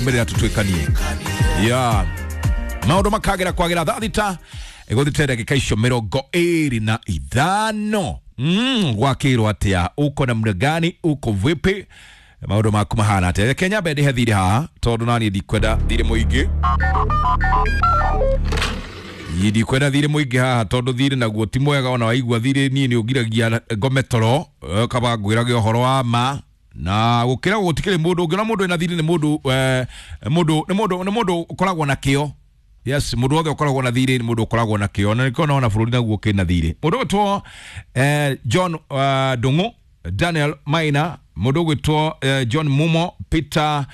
Twaumĩrĩra tũtuĩkanie ya maũndũ makagĩra kwagĩra thaa 6 ĩgũthite ndagĩka icio 25. Gwakĩirwo atĩa? Uko namna gani? Uko vipi? Maũndũ maku mahana atĩa? Reke nyambe ndĩhe thirĩ haha tondũ naniĩ ndikwenda thirĩ mũingĩ. Ndikwenda thirĩ mũingĩ haha tondũ thirĩ naguo ti mwega. Ona waigua thirĩ niĩ nĩ ũngiragia ngome toro, kaba ngwĩrage ũhoro wa ma na gũkĩra gũtikĩrĩ mũndũ ũngĩona mũndũ ena thirĩ nĩ mũndũ mũndũ nĩ mũndũ nĩ mũndũ ũkoragwo na kĩo. Yes, mũndũ wothe ũkoragwo na thirĩ nĩ mũndũ ũkoragwo na kĩo, na nĩkĩo naona bũrũri naguo kĩna thirĩ. Mũndũ ũgwĩtwo John Ndung'u, Daniel Maina, mũndũ ũgwĩtwo John Mumo, Peter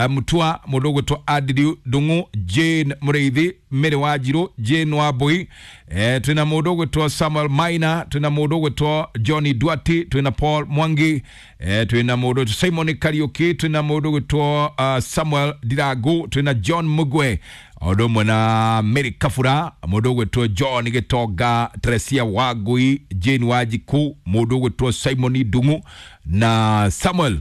Mutua, mũndũ ũgwĩtwo Andrew Ndung'u, Jane Mũrĩithi, Mary Wanjirũ, Jane Wambui, twĩna mũndũ ũgwĩtwo Samuel Maina, twĩna mũndũ ũgwĩtwo Johnny Duarte, twĩna Paul Mwangi, twĩna mũndũ Simon Kariuki, twĩna mũndũ ũgwĩtwo Samuel Ndirangu, twĩna John Mugwe, ũndũ ũmwe na Mary Kabura, mũndũ ũgwĩtwo John Gĩtonga, Teresia Wangui, Jane Wanjiku, mũndũ ũgwĩtwo Simon Ndung'u na Samuel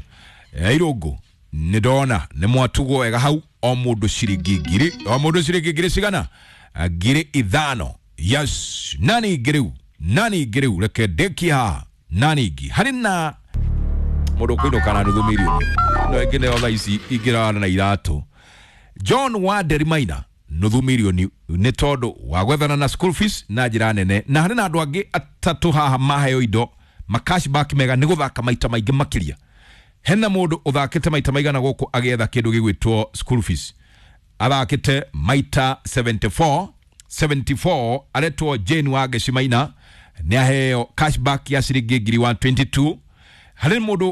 Irũngũ. Nĩ ndona nĩ mwatugwo wega hau, o mũndũ ciringi 1000, o mũndũ ciringi ngiri cigana? 5000. Yes, nani ingĩ rĩu? Nani ingĩ rĩu? Reke ndĩkie haha. Nani ingĩ? Harĩ na mũndũ ũkũinũka na nuthu mirioni no ĩngĩ nĩyo thaa ici ingĩrara na iratũ. John Wanderi Maina nuthu mirioni nĩ tondũ wa gwethana na school fees na njĩra nene. Na harĩ na andũ angĩ atatũ haha maheo indo ma cashback mega nĩ gũthaka maita maingĩ makĩria. Hena mũndũ ũthakĩte maita maigana gũkũ agĩetha kĩndũ gĩgwĩtwo school fees? Athakĩte maita 74 74, aretwo Jane Wangeci Maina, nĩ aheo cashback ya ciringi 122,000. Harĩ mũndũ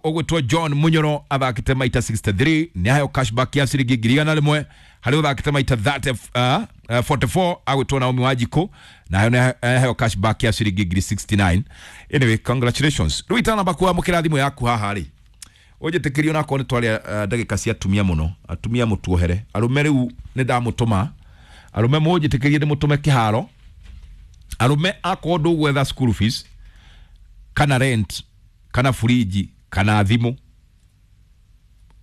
ũgwĩtwo John Munyoro athakĩte maita 63, nĩ aheo cashback ya ciringi 101,000. Harĩ ũthakĩte maita 30, 44, agwĩtwo Naomi Wanjikũ, nayo nĩ aheo cashback ya ciringi 69,000. Anyway, congratulations. Rĩu itanamba kwamũkĩra thimũ yaku haha rĩ, ũnjĩtĩkĩrie onakorwo nĩ twaria ndagĩka cia atumia mũno, atumia mũtuohere, arũme rĩu nĩ ndamũtũma, arũme mũnjĩtĩkĩrie ndĩmũtũme kĩharo. Arũme, akorwo ndũgwetha school fees kana rent kana furiji kana thimũ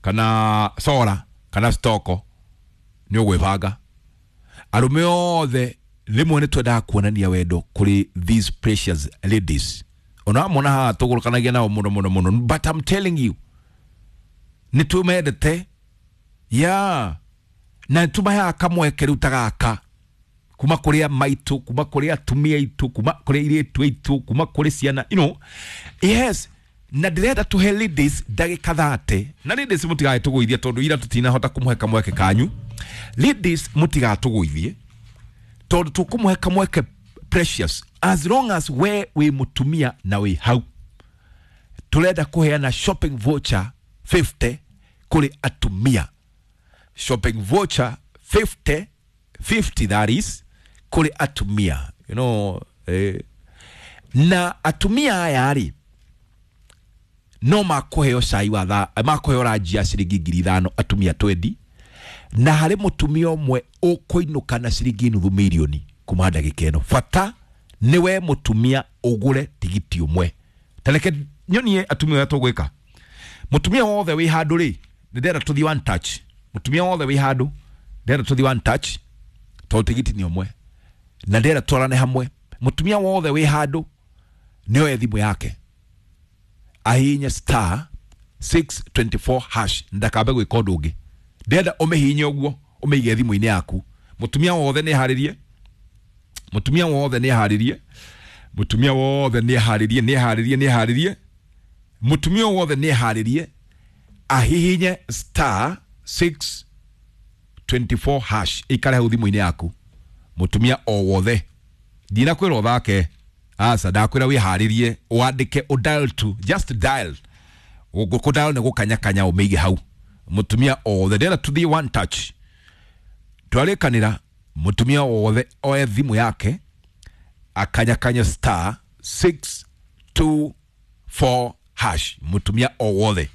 kana sora kana stoko, nĩ ũgwĩbanga. Arũme othe rĩmwe nĩ twendaga kuonania wendo kũrĩ these precious ladies, ona mona haha tũgũrũkanagia nao mũno mũno mũno, but I'm telling you nĩ tũmendete ya na nĩ tũmaheaga kamweke rĩu ta gaka kuma kũrĩ maitũ, kuma kũrĩ atumia aitũ, kuma kũrĩ airĩtu aitũ, kuma kũrĩ ciana, you know. Yes, na ndĩrenda tũhe ladies ndagĩka 30, na ladies mũtigatũgũithie tondũ ira tũtinahota kũmũhe kamweke kanyu. Ladies, mũtigatũgũithie tondũ tũkũmũhe kamweke precious. As long as we wĩ mũtumia na wĩ hau, tũrenda kũheana shopping voucher 50 kũrĩ atumia. Shopping voucher 50, 50 that is, kũrĩ atumia, you know, na atumia aya rĩ, no makũheo cai wa thaa, makũheo ranji ya ciringi 5,000, atumia 20, na harĩ mũtumia ũmwe ũkũinũka na ciringi nuthu mirioni kuma ndagĩka ĩno. Bata nĩ we mũtumia ũgũre tigiti ũmwe. Ta reke nyonie atumia ũrĩa tũgwĩka. Mũtumia wothe wĩ handũ rĩ, nĩ ndĩrenda tũthiĩ one touch. Mũtumia wothe wĩ handũ, ndĩrenda tũthiĩ one touch tondũ tigiti nĩ ũmwe na ndĩrenda twarane hamwe. Mũtumia wothe wĩ handũ nĩ oe thimũ yake ahihinye star 624 hash, ndakambe gwĩka ũndũ ũngĩ. Ndĩrenda ũmĩhihinye ũguo, ũmĩige thimũ-inĩ yaku. Mũtumia wothe nĩ harĩrie, mũtumia wothe nĩ harĩrie, mũtumia wothe nĩ harĩrie, nĩ harĩrie, nĩ harĩrie, mũtumia wothe nĩ harĩrie ahihinye star 624 hash, ikare hau thimũ-inĩ yaku. Mũtumia o wothe, ndinakwĩra ũthake, aca, ndakwĩra wĩharĩrie, wandĩke, ũdial tu, just dial. Kũdial nĩ gũkanyakanya, ũmĩige hau. Mũtumia o wothe, ndĩrenda tũthiĩ one touch. Twarĩkanĩra mũtumia wothe oe thimũ yake akanyakanya star 624 hash. Mũtumia o wothe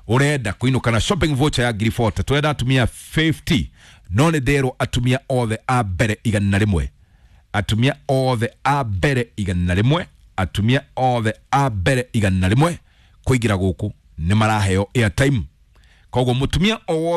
ũrenda kũinũka na shopping voucher ya 40,000, tũrenda atumia 50, no nĩ nderwo atumia othe a mbere 100, atumia othe a mbere 100, atumia othe a mbere 100 kũingĩra gũkũ nĩ maraheo airtime. Koguo mũtumia o wothe.